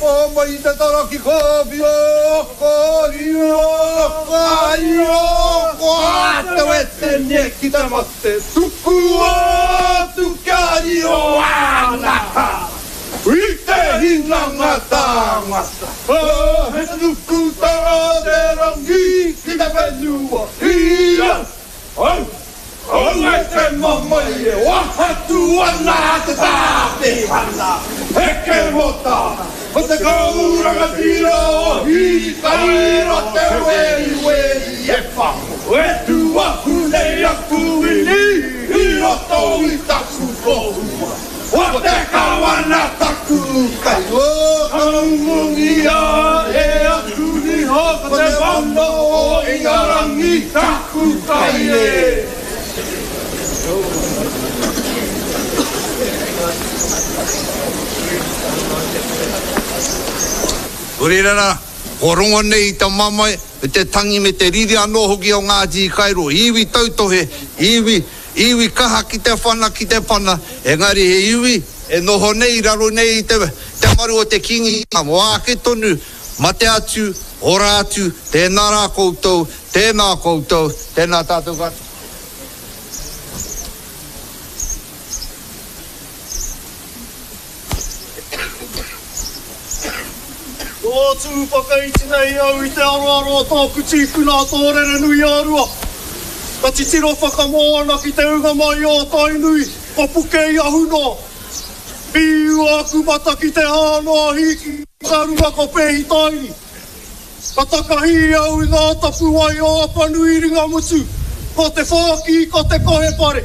Pō mai te tara ki Kāwhia, ka riro, ka iro, ko Ātawetene ki te mate, tukua atu kia riro āna hā i te hinanga tāngata. He nukutanga te rangi ki te whenua, i au, au, Aue te mamae e wahatu ana te tāpehana, heke mota, ko te kau rangatira o Hikairo te weriweri e whango e tuahu nei aku wini i roto i taku tohua, ko te kawana taku kai. Kaungungia e aku niho ko te mana o Ingarangi taku kai e. Nō reira rā, kua rongo nei i te mamae, me te tangi me te riri anō hoki o Ngāti Hikairo, iwi tautohe, iwi, iwi kaha ki te whana, ki te pana, engari he iwi e noho nei i raro nei i te, te maru o te Kīngitanga mō āke tonu, mate atu, ora atu, tēnā rā koutou, tēnā koutou, tēnā tātou katoa. Kua tū whakaiti nei au i te aroaro o tōku tīpuna a Tōrerenui-a-Rua. Ka titiro whakamoana ki te unga mai o Tainui, ko Puke-i-ahu noa. Pīua aku mata ki te hā noa hīki ka runga ko Pēhitaini. Ka takahi au i ngā tapuwae o Apanui Ringamutu, ko Te Whāki, ko Te Kohepare.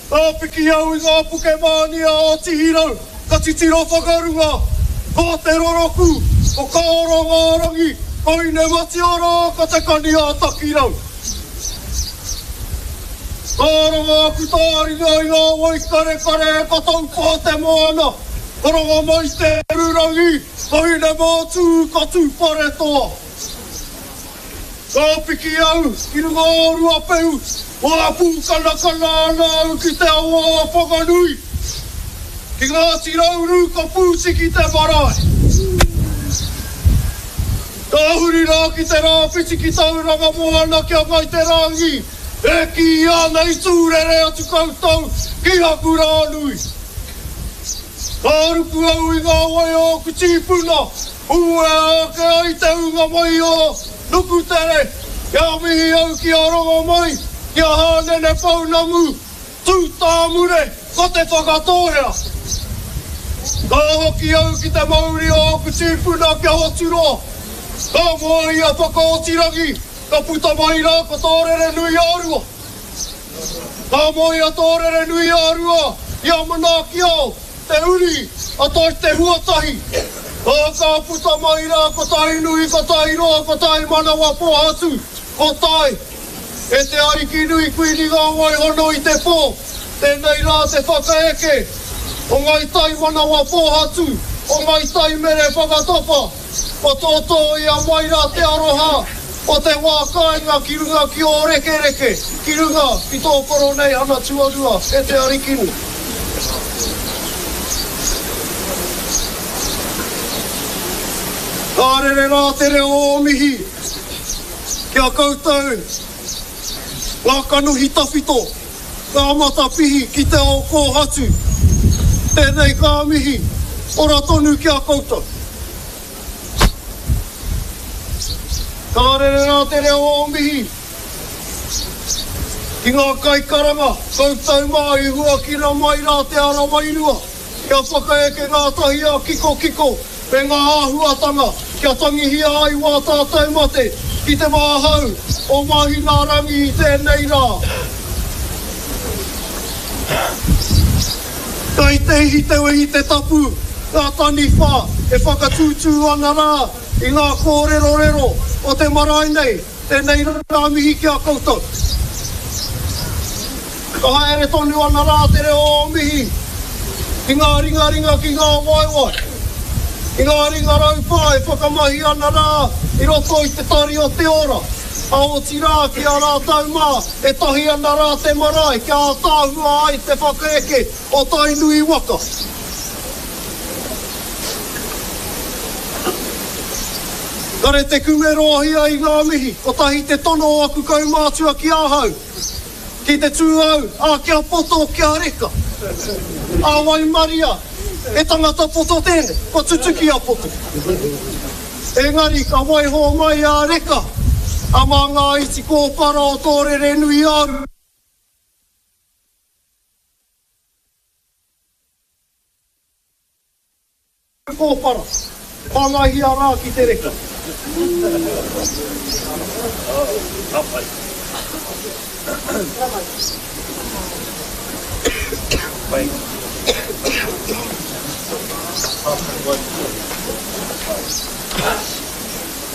Ka piki au i ngā puke mānia o Tihirau, ka titiro whakarunga, ko Te Roroku, ko Kaorongārangi, ko Inematioro, ko Te Kani-ā-Takirau. Ka rongo aku tāringa i ngā wai karekare ka taupā te moana, ka rongo mai te ururangi, ka Hinemātū, ka Tūwharetoa. Ka piki au ki runga o Ruapehu, wā pūkanakana ana au ki te awa o Whanganui, ki Ngāti Rauru ka pūtiki te marae. Ka huri rā ki te rāwhiti ki Tauranga Moana ki a Ngai Te Rangi, e kīia ana i tūrere atu koutou ki Hakurānui. Ka ruku au i ngā wai o ōku tīpuna, uea ake ai te ūnga mai o Nukutere, kia mihi au ki a Rongomai, ki a Hānene Pounamu, Tū tāmure, ko Te Whakatōhea. Ka hoki au ki te mauri o ōku tīpuna kia Hoturoa. Ka moe i a Whakaotirangi, ka puta mai rā ko Tōrerenui-ā-Rua. Ka moe a Tōrerenui-ā-Rua i a Manaakiao, te uri a Toi Te Huatahi. Ā, ka puta mai rā ko Tainui, ko Tairoa, ko Taimanawa Pōhatu, ko Tai. E te Ariki nui Kuini ngā wai hono i te pō, tēnei rā te whakaeke o Ngai Tai manawa pōhatu, o Ngai Tai mere whakatapa, kua tōtōia mai rā te aroha o te wā kāinga ki runga ki ō rekereke, ki runga ki tō Koroneihana tuarua e te Arikinui. Ka rere rā te reo o mihi. Ki a koutou, ngā kanohi tawhito, ngā matapihi ki te ao kōhatu, tēnei ka mihi, ora tonu ki a koutou. Ka rere rā te reo o mihi ki ngā kaikaranga, koutou mā i huakina mai rā te ara wairua. Kia whakaeke ngātahi a kikokiko me ngā āhuatanga kia tangihia ai wā tātou mate ki te wāhau o Māhinaarangi i tēnei rā. Kai te ihi te wehi te tapu, ngā taniwha e whakatūtū ana rā i ngā kōrerorero o te marae nei. Tēnei rā mihi ki a koutou. Ka haere tonu ana rā te reo o mihi ki ngā ringaringa, ki ngā waewae, ki ngā ringa raupā e whakamahi ana rā i roto i te tari o te ora, a otirā ki a rātou mā e tahi ana rā te marae kia ātaahua ai te whakaeke o Tainui waka. Kare te kume roahia i ngā mihi, kotahi te tono o aku kaumātua ki ahau, ki te tū au, ā, kia poto, kia reka. Ā waimaria, he tangata poto tēnei, kua tutuki a poto. Engari ka waiho mai a reka, a mā ngā iti kōpara o tō Rerenui-ā-Rua. Kōpara, whāngaihia rā ki te reka. Ka pai. Pai.